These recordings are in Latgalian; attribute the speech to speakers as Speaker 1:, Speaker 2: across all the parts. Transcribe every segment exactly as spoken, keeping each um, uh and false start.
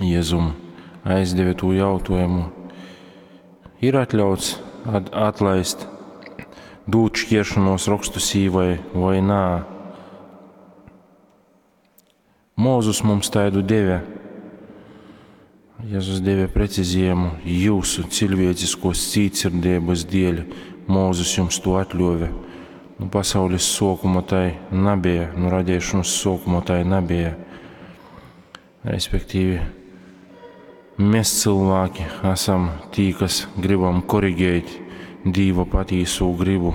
Speaker 1: Jezum aizdeve tū jautājumu. Ir atļauts atlaist, dūt šķiršanos rokstu sīvai voi nā? Mūzus mums taidu deve. Jēzus deve precizējumu jūsu cilvēciskos cītsirdības dēļ. Mūzus jums to atļāva. Nu, pasaules sākuma tai nebija, nu, radīšanas sākuma tai nebija. Respektīvi, mēs cilvēki esam tī, kas gribam korigēt Dīva patīso gribu.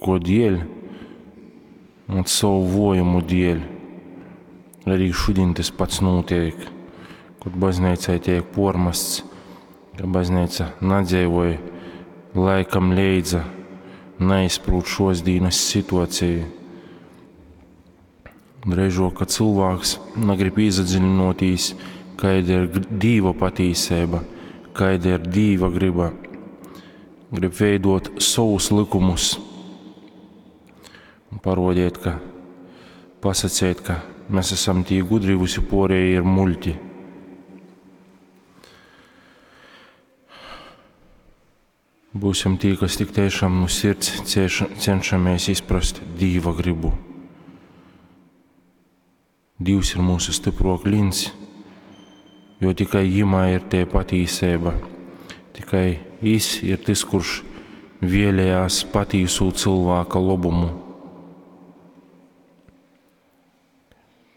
Speaker 1: Ko dēļ? Un savu vojumu dēļ. Arī šodien tas pats notiek, kad baznīcai tiek pormasts, ka baznīca nedzīvoja laikam leidza, neizprot šos dienas situāciju. Drēžok, ka cilvēks negrib iedziļināties, kāda ir Dīva patīsība, kāda ir Dīva griba. Grib veidot savus likumus un parodiet, ka pasacēt, ka mēs esam tī gudri, visi porēji ir muļķi. Būsim tī, kas tik tiešām no sirds cieša, cenšamies izprast Dīva gribu. Dievs ir mūsu stipro klints, jo tikai Jimā ir tie patīsība. Tikai Jis ir tas, kurš vēlējās patīsu cilvēka labumu.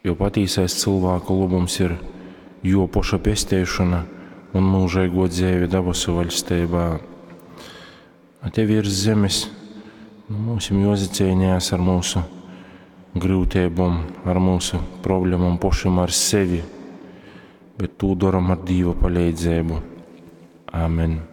Speaker 1: Jo patīsais cilvēka labums ir jo poša pestēšana un mūžīgo dzīve dabasu vaļstībā. A te virs zemes nu, mums ir jāzacīnījās ar mūsu grūtībām, ar mūsu problēmām pašiem ar sevi, bet to daram ar Dieva palīdzību. Amen.